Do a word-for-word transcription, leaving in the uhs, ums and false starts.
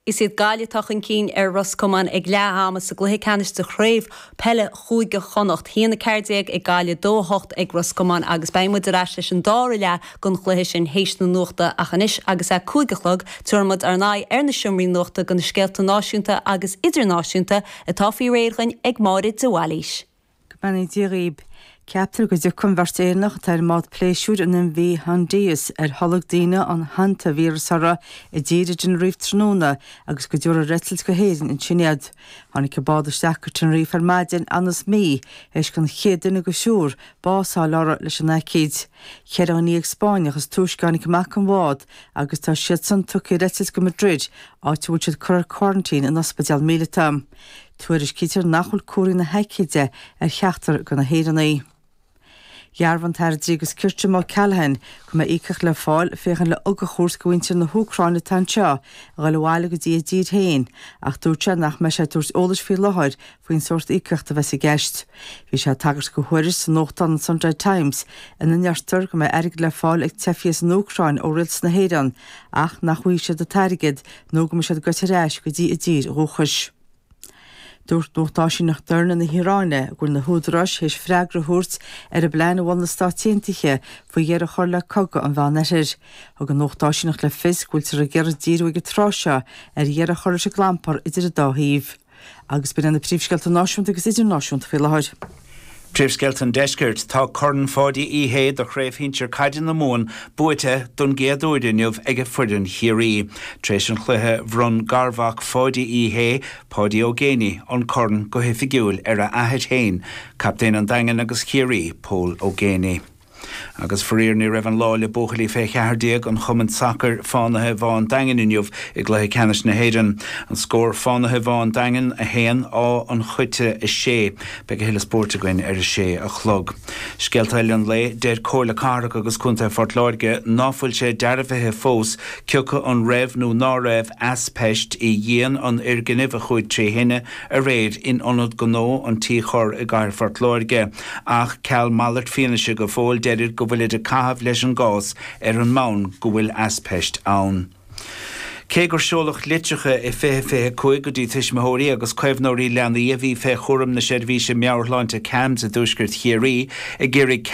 Is iad Gaillimh atá chun cinn ar Ros Comáin ag leath ama sa gcluiche ceannais de chraobh peile Chúige Chonnacht. haon a ceathair déag ag Gaillimh dó a hocht ag Ros Comáin agus beidh muid ar ais leis an dara leath den chluiche sin théis na nuachta ach anois agus é cúig a chlog tabharfaidh muid ár n-aghaidh ar na seomraí nuachta do na scéalta náisiúnta agus idirnáisiúnta atá faoi réir againn ag Máire de Bhailís. Go mbeannaí Dia dhaoib. Ceaptar go dtiocfaidh an bheirt Éireannach atá ar an mbád pléisiúir an MV Hondius ar tholg daoine an hantavíreas orthu i dtír i dTenerife tráthnóna agus go dtabharfar ar eitilt go hÉirinn ansin iad. Tháinig an bád isteach go Tenerife ar maidin anas mí théis don chéad duine den triúr bás a fháil orthu leis an aicíd. Ceithre dhuine dhéag Spáinneach is túisce a tháinig amach an bhád agus tá siad san tugtha ar eitilt go Madrid áit a bhfuil siad curtha ar quarantine in ospidéal míleata. Tuairiscítear nach bhfuil comharthaí na haicíde ar cheachtar de na hÉireannaigh. Dhearbhaigh an tAire Dlí agus Cirt Jim O'Callaghan go mbeidh íocaíocht le fáil féachaint le ugach a thabhairt do mhuintir na hÚcráine atá anseo a dhul abhaile go dtí a dtír féin, ach dúirt sé nach mbeidh sé ag tabhairt eolais faoi láthair faoin sórt íocaíochta a bheas i gceist. Bhí sé ag tagairt do thuairisc sa nuachtán an Sunday Times ina ndeirtear go mbeidh airgead le fáil ag teifigh as an Úcráin ó rialtas na hÉireann ach nach bhfaighidh siad an t-airgead nó go mbeidh siad goite ar ais go dtí a dtír dhúchais. Dúirt nuacht áisíneacht d'fhoirne na hIaráine go bhfuil na húdaráis théis freagra a thabhairt ar an bplean a mhol na Stáit Aontaithe faoi dheireadh a chur le cogadh an Mheánoirthir. Thug an nuacht áisíneacht le fios go bhfuiltear ag iarraidh díriú ag an tráth seo ar dheireadh a chur leis an gclampar idir an dá thaobh. Agus b'in na príomhscéalta náisiúnta agus idirnáisiúnta faoi láthair. Príomhscéalta an Deiscirt tá Corn Pháidí Uí Shé do chraobh shinsir caide na Mumhan buaite don gcéad uair inniu ag foireann Chiarraí. Tar éis an chluiche bhronn garmhac Pháidí Uí Shé, Páidí Ó Géibheannaigh, an corn go hoifigiúil ar a athair féin, captaen an Daingin agus Chiarraí, Pól Ó Géibheannaigh. Agus faraor ní raibh an lá le buachaillí fé cheathair déag an chumainn sacair Fánaithe Bhá an Daingin inniu i gcluiche ceannais na hÉireann. An scór Fánaithe Bhá an Daingin a haon Áth an Choite a sé. Beidh a thuilleadh spóirt againn ar a sé a chlog. Scéalta eile an lae deir Comhairle Cathrach agus Contae Phort Láirge ná fuil sé dearbhaithe fós cé acu an raibh nó ná raibh aispeist i dhíon an fhoirgnimh a chuaigh trí thine aréir in ionad gnó an Tí Chorr i gcathair Phort Láirge ach ceal malairt fianaise go fóill deirid go bhfuilid ag caitheamh leis an gcás ar an mbonn go bhfuil aispeist ann. Cé gur seoladh litreacha i fiche fiche cúig go dtí tuismitheoirí agus caomhnóirí leanaí a bhí fé chúram na seirbhíse meabhairshláinte CAMHS i dtuaisceart Chiarraí ag iarraidh